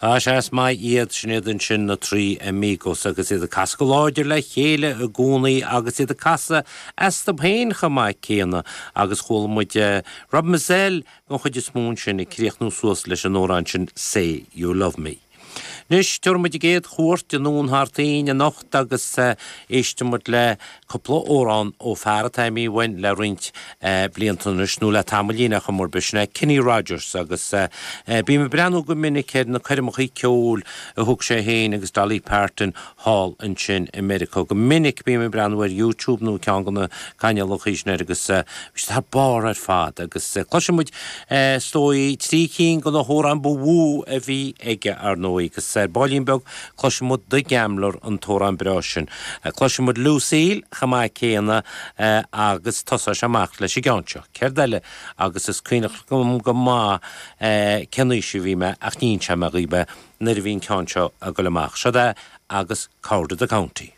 Á, sea, is maith iad, sin iad ansin na Three Amigos agus iad ag casadh go láidir le chéile i gcónaí agus iad ag casadh astu féin chomh maith céanna agus chuala muid Rob Mazell den chuid is mó ansin ag críochnú suas leis an amhrán sin Say You Love Me. Anois, tabharfaidh muid an gcéad chuairt anonn thart fhéin anocht agus éistfidh muid le cúpla amhrán ó fear atá imithe uainn le roinnt blianta anois, nó le tamaillín ar chuma ar bith, sin é Kenny Rogers agus bím ag breathnú go minic ar na coirmeachaí ceoil a thug sé féin agus Dolly Parton thall ansin i Meiriceá. Go minic bím ag breathnú ar YouTube nó ceann de na cainéalachaí sin air agus bhí siad thar barr ar fad agus cloisfidh muid is dóigh trí cinn de na hamhráin ba mhó a bhí aige ar ndóigh agus ar baillín beag cloisfidh muid The Gambler an t-amhrán breá sin. Cloisfidh muid Lucille chomh maith céanna agus tosóidh sé amach leis an gceann seo. Céard eile agus is cuimhneach liom go maith cén aois a bhí mé ach ní inseoidh mé dhaoibh é nuair a bhí an ceann seo ag dul amach. Seod é agus Coward of the County.